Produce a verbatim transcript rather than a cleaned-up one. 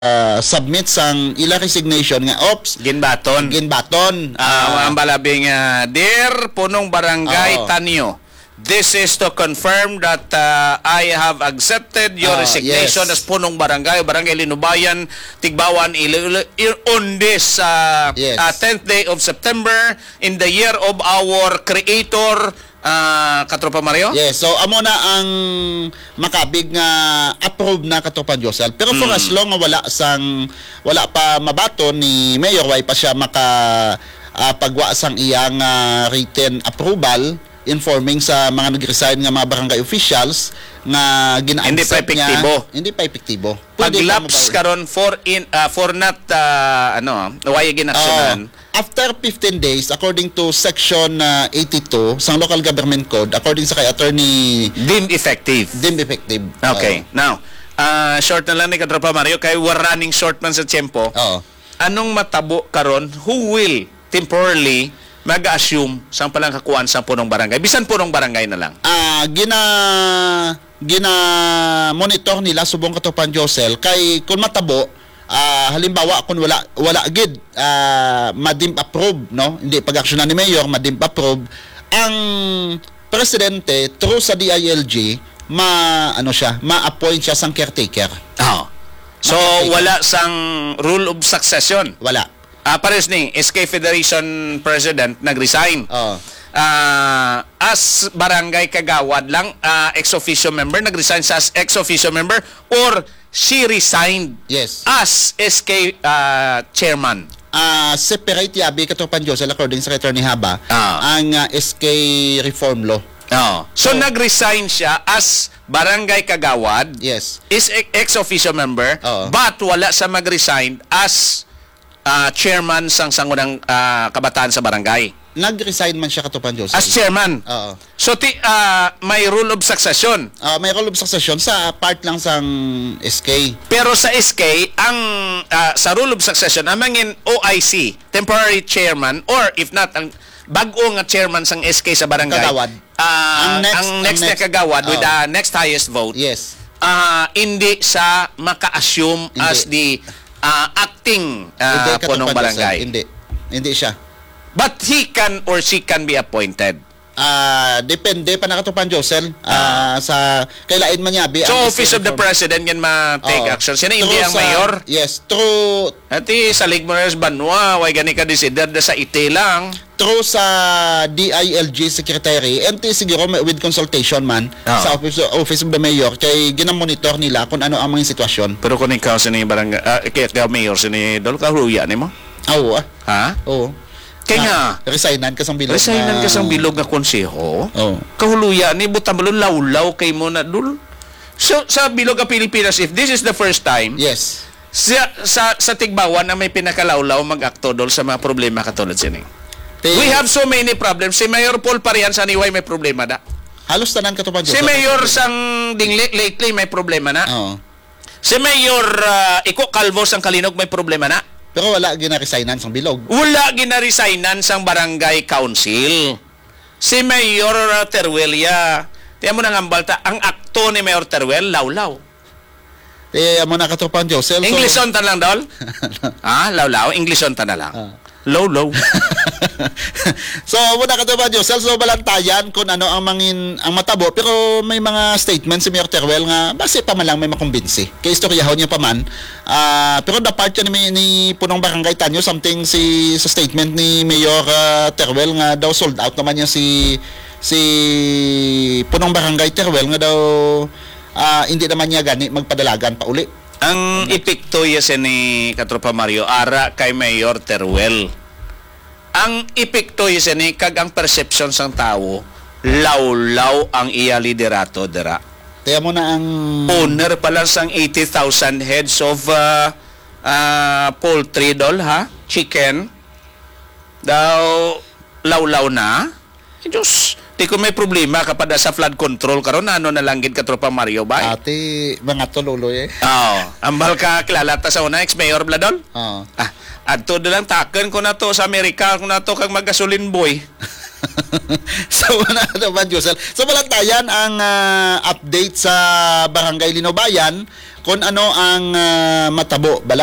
ah, submit sang ila resignation nga, ops, Ginbaton. ginbaton. Ah, Ah, ang balabing, ah, Dear Punong Barangay Oo. Tanyo, this is to confirm that, ah, I have accepted your Ah, resignation yes. as Punong Barangay, Barangay Linubayan, Tigbawan, Iloilo, i-, on this, ah, Yes. ah, tenth day of September, in the year of our Creator, ah, Katropa Mario? Yes, so amo na ang makabig nga approve na, Katropa Josel. Pero for Mm. as long nga wala sang, wala pa mabaton ni Mayor, way pa siya maka, ah, pagwa sang iyang, ah, written approval, informing sa mga nag-resign nga mga barangay officials nga gina-accept Hindi pa epektibo. niya, hindi pa epektibo. Pwede pa Pag-lapse mabawi. karon for in, ah, for not, ah, ano, why ginaksyonan? Oo. After fifteen days, according to section, ah, eighty-two sang Local Government Code, according sa kay Attorney Deemed effective. Deemed effective. Okay. Oo. Now, ah, short na lang ni Katropa Mario kay we're running short man sa tiyempo. Oo. Anong matabo karon? Who will temporarily mag-assume sang palangkakuan sang punong barangay? Bisan punong barangay na lang. Ah, gina-, gina-monitor nila subong, Katropa Josel, kay kung matabo, ah, halimbawa, kung wala, wala gid, ah, ma-deem approve, no? Hindi pag-aksyonan ni Mayor, ma-deem approve, ang presidente, through sa D I L G, ma-, ano siya, ma-appoint siya sang caretaker. Oh. So, Caretaker. wala sang rule of succession? Wala. Ah, pares ni S K Federation President nag-resign. Oh. Ah, as barangay kagawad lang, ah, ex officio member, nag-resign siya as ex officio member, or she resigned Yes. as S K, ah, chairman? Ah, separate yabi, Katropa Josel, according sa Attorney Haba, Ah. ang, ah, S K reform law. Oh. So, So, nag-resign siya as barangay kagawad, Yes. is e-, ex officio member, Oo. but wala siya mag-resign as, ah, chairman sang sangunang, ah, kabataan sa barangay. Nag-resign man siya, Katropa Josel. As chairman. Oo. So, ti-, ah, may rule of succession. Ah, may rule of succession sa part lang sang S K. Pero sa S K, ang, ah, sa rule of succession, ang mangin O I C, temporary chairman, or if not, ang bag-o nga chairman sang S K sa barangay, Kagawad. ah, Ang next, ang ang next na next, kagawad with oo. the next highest vote, Yes. ah, hindi sa maka-assume Hindi. as the, ah, acting, ah, Hindi, punong Katropa Josel. barangay. Hindi. Hindi siya. But he can or she can be appointed. Ah, depende pa na, Katropa Josel. Ah. Ah, sa, kay lain man yabi So, ang Office of the reform. President yan ma-take Oo. action. Sino hindi Through ang sa, mayor? Yes, through Ati, salig mo na sa banwa, way gani ka desider da sa iti lang. Through sa D I L G secretary, and ti siguro may, with consultation man Ah. sa Office, Office of the Mayor, kay ginamonitor nila kung ano ang mga sitwasyon. Pero kung ikaw sini barangay, ah, kay ikaw mayor sini Dol, kahuya nimo? Ah, oo, ah. Ha? Oo. Kay Na, nga, resignan ka sang bilog resignan na ka sang bilog nga konseho? Oo. Kahuloya ni, buta mo, lawlaw kay mo na, Dol. So, sa bilog nga Pilipinas, if this is the first time, Yes. sa, sa, sa Tigbawan na may pinakalawlaw mag-akto, Dol, sa mga problema katulad sini. Ti- We have so many problems. Si Mayor Paul Parian sa Niway may problema da. Halos tanan, Katropa Josel, Si may Mayor problema. sang Dingle lately may problema na. Oo. Si Mayor, ah, Iko Calvo sang Kalinog may problema na. Pero wala ginaresignan sang bilog. Wala ginaresignan sang barangay council. Si Mayor, ah, Teruelia, tiyan mo nang hambal ta, ang akto ni Mayor Teruel, lawlaw. Eh, amo na, Katropang Josel, so Englishon ta lang, Dol? Ha? Lawlaw? Englishon ta na lang. Ah. Low, low. So, muna ka ba, Josel? So, balantayan kung ano ang mangin-, ang matabo. Pero may mga statement si Mayor Teruel nga basi pa man lang may makumbinsi. Kay istoryahon niya pa man. Ah, pero the part ni, ni Punong Barangay Tanyo, something si, sa statement ni Mayor, ah, Teruel nga daw sold out naman niya si, si Punong Barangay Teruel nga daw, ah, hindi naman niya gani magpadalagan pa uli. Ang epekto ya sini, Katropa Mario, ara kay Mayor Teruel. Ang epekto ya sini kag ang perception sang tawo, lawlaw ang iya liderato dira. Kaya mo na ang Owner pa lang sang eighty thousand heads of, ah, ah, poultry, Dol, ha? Chicken. Daw, lawlaw na. Eh, Diyos, di ko may problema kapag sa flood control karon, ano na lang gid, Katropa Mario, bay? Ati, mga tululoy eh. Oo. Ambal ka, kilala ta sa una, ex-mayor, Bladol? Oo. Ah, adto na lang, takon ko na to sa Amerika, ko na to kag magasolin boy. So, wala na ba, Josel? So, balantayan ang, ah, update sa Barangay Linubayan. Kung ano ang, ah, matabo, bala